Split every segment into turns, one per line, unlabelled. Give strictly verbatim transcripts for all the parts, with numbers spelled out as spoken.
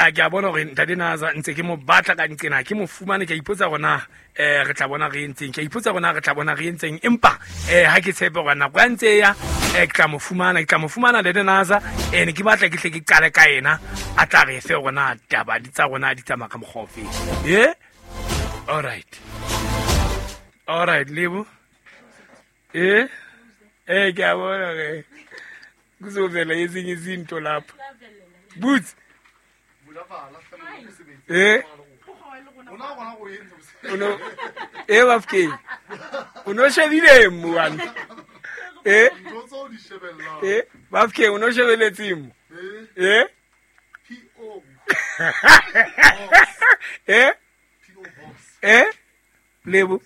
Ya ke a bona hore ntate Naza ntse ke mo batla ka nqena ke mo fumane, ke a ipotsa hore na eh re tla bona re entseng, ke a ipotsa hore na re tla bona re entseng, empa eh ha ke tshepe hore nako ya ntse ya eh ke tla mo fumana, ke tla mo fumana ntate Naza. Eh ne ke batla ke hle ke qale ka yena, a tla re fe hore na taba di tsa rona di tsamaya ka mokgwa ofe. Eh all right, all right Lebo. Eh eh ke a bona re kuzovela ezinye izinto lapha. Boots. Eh uno eh bafke uno shebile mo wana eh eh bafke uno shebeletse mo eh
P O
eh eh Lebo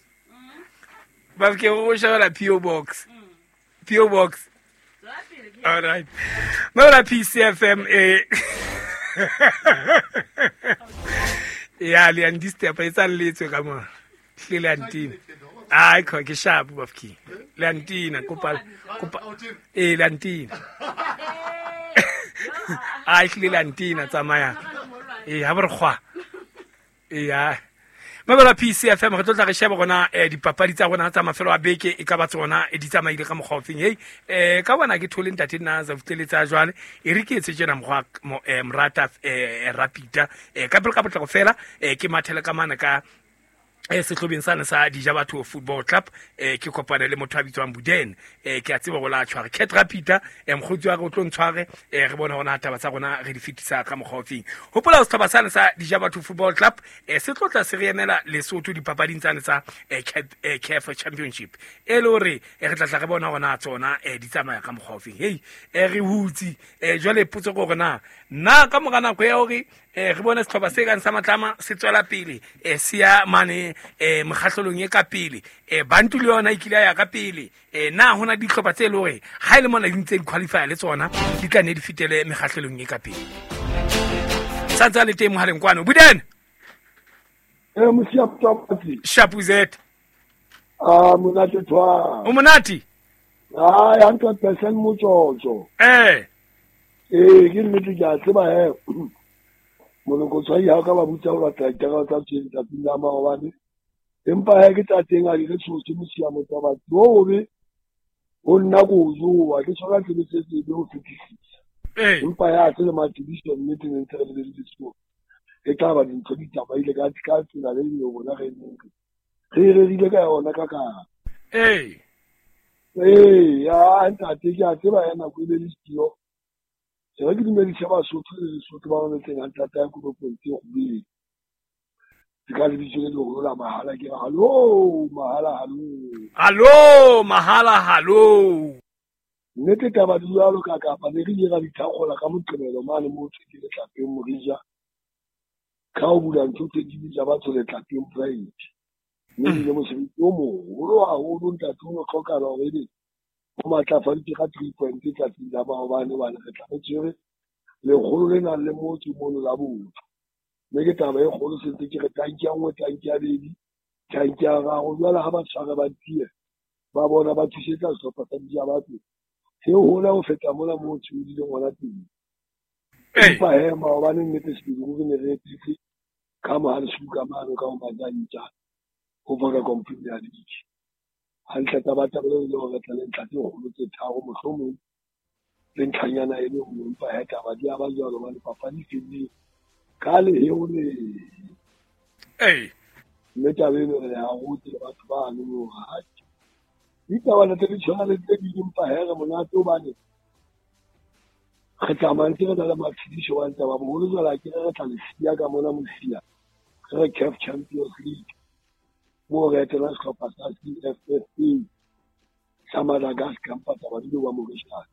bafke o shebela P O box, P O box. All right, Mabela P C F M eh ya le andistep e tsa letswe ka mo hle le antina. Ai kho ke sharp bafki le antina kopa kopa e le antina. Ai hle le antina tsamaya e ha bore khwa e ya Mabela P C F M re tlo tla re sheba rona eh dipapadi tsa rona tsa mafelo a beke e ka ba tsona e di tsamaile ka mokgwa ofeng. Hey eh ka bona ke thole ntate Naza futleletsa jwale e re ke etse tjena mokgwa eh morata eh rapita eh ka pele ka potlako fela eh ke mathele ka mana ka eh sehlobeng sana sa Dija Batho Football Club eh ke kopane le motho a bitswang Buden eh ke a tseba go la tshware Cat Rapita eh mkhotsi wa re o tlo ntshware eh re bona hona taba tsa rona re di fetisa ka mokgwa ofeng. Hopola sehlopha sana sa Dija Batho Football Club eh se tlotla se re emela Lesotho dipapading tsane tsa eh C A F Championship e le hore re tla tla re bona hona tsona eh di tsamaya ka mokgwa ofeng. Hey eh re hutsi eh jwale potso ke hore na nna ka mora nako ya hore eh re bone sehlopha se kang sa Matlama se tswela pele eh se ya mane eh mokgahlelong e ka pele eh Bantu le yona e kile ya ka pele eh na hona dihlopha tse le hore ha ile mona di ntse di qualify le tsona di tla ne di fitele mekgahlelong e ka pele. Santsa le teng mohaleng kwano Buden.
Eh mosia Mtwapatsi.
Shapuzet.
Ah monate twa.
O monate?
Ah one hundred percent motsotso.
Eh
eh ke nnete ke a tseba he moloko tshwai ha ka ba butsa ho batla ditaba tsa tshweng tsatsing la maobane, empa ha ke tsa teng a di re tshose mosia Motsabatsi o be ho nna ko jowa ke tshwara tsebe se tsebe ho fetisisa. Empa ya tse le matibiso nnete ne ntse re lebeletse sekolo e tla ba dintho di tsamaile ka ka tsela le le bona re neng re rerile ka yona ka ka
ee
ee ya ntate ke a tseba ya nako e le le sio. Se re ke dumedise Basotho le Lesotho ba mametseng hantle ya Koropong tse kgobedi. Ke ka lebitso le leholo la mahala ke re hallo mahala hallo.
Hallo mahala hallo.
Nnete taba di jwalo ka kapa ne re ile ra di thakgola ka Moqebelo mane mo thwe ke Letlapeng Morija. Ka ho bula ntho tse di bitsa batho Letlapeng Pride. Mme ebile mosebetsi o moholo haholo ntate o no hlokahala hore ebe o matlafaditse ka three point tsatsing la maobane hobane re tla re tshwere lekgolo le nang le motho mono la botho. Mme ke taba e kgolo se ntse ke re tanki ya nngwe, tanki ya bedi, tanki ya raro. Jwale ha ba tshware ba tiye ba bona ba thusetsa sehlopha sa Dija Batho se hola ho feta mola moo tshodileng hona teng. Empa he maobane nnete sebele ruri ne re etetse ka mohale suka mane ka ho Majantja ho Vodacom Premier League. Hantle taba taba le hore re tla le ntlha tse kgolo tse tharo mohlomong le ntlhanyana e le nngwe, empa he taba di a ba jwalo hobane papadi e fedile ka leheo le.
Ee
mme taba eno re ya rute batho bano hore atjhe ditaba tse di tshwana le tse ding, empa he re monate hobane re tsamaya ntse re na le matshediso wa taba boholo jwale ke re re tla le siya ka mona mosia re re C A F Champions League moo re etela sehlopha sa C F F A sa Madagascar empa taba di wa Mauritius.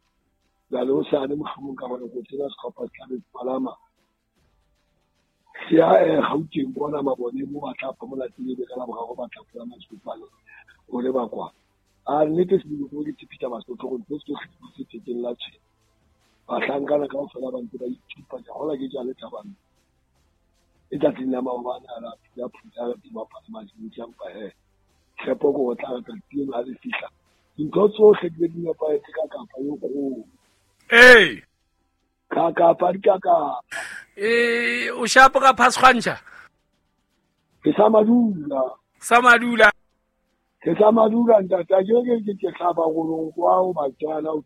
Jwale hosane mohlomong ka bona tsena sehlopha se tla be palama se ya eh Gauteng kwana mabone mo ba tla phomola teng ebe ka Laboraro ba tla palama sefofane ho leba kwa. A nnete sebele ke tshepisa Basotho hore ntho tsohle di se thekeng la tshwene. Bahlankana kaofela ba ntse ba ithupa ke hola ke jale thabang e tsatsing la maobane a la ya phutha re bapala majintsi empa he tshepo ke ho tla re tsatsi leno ha le fihla dintho tsohle di be di nepahetse ka kapa e kgolo.
Ee
ka kapa di ka kapa.
E o shapo ka phasgwantšha?
Ke sa madula.
Sa madula.
Ke sa madula ntate, ke ke ke ke hlaba golong kwa o batswana o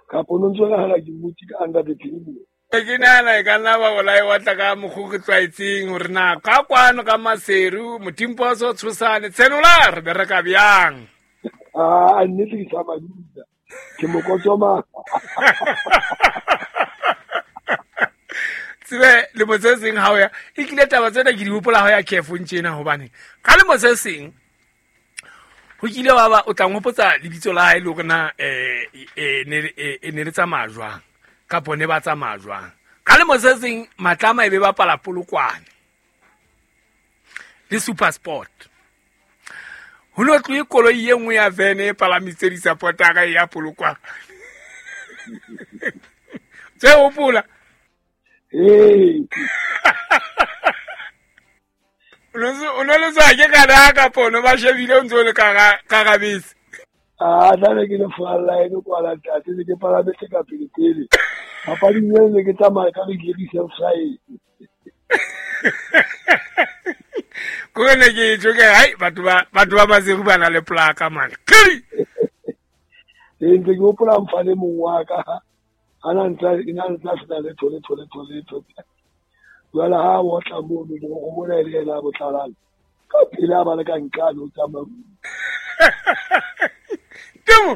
ka pono ntse nagana ke motse ka under the table.
Ke nahana e ka nna ba bolae wa tla ka mokgwa ke tlwaetseng hore na ka kwano ka Maseru Motimposo Tshosane Tshenola re bereka bjang.
Ah, nnete ke sa madula. Ke mokotsoma.
Tsebe lemo se seng ha o ya e kile taba tsena ke di hopola ha o ya careful tjena hobane ka lemo se seng ho kile wa ba o tla nghopotsa lebitso la hae le hore na eh eh ne e ne le tsamaya jwang kapo ne ba tsamaya jwang. Ka lemo se seng Matlama e be bapala Polokwane le Super Sport. Ho no tlohe koloi e nngwe ya vene e palamitse di-supportera e ya Polokwane. Tse hopola?
Ee.
O no le tswa ke kana kapo no ba shebile o ntse o le ka ka gabese.
Ah, tla ke le falla e kwa la ntate ke palametse ka pele pele. Papading eo ne ke tsamaya ka re ke self-side.
Ko ne ke tjo ke hai batho ba batho ba Maseru ba na le plaka man. Kiri.
Ee, ntse ke hopola mfane mong wa ka. Ana ntla ina ntla sena le thole thole thole thole. Jwale ha o tla mono go bona le yena botlalane. Ka pele a ba le ka nkane o tsamaya.
Temo.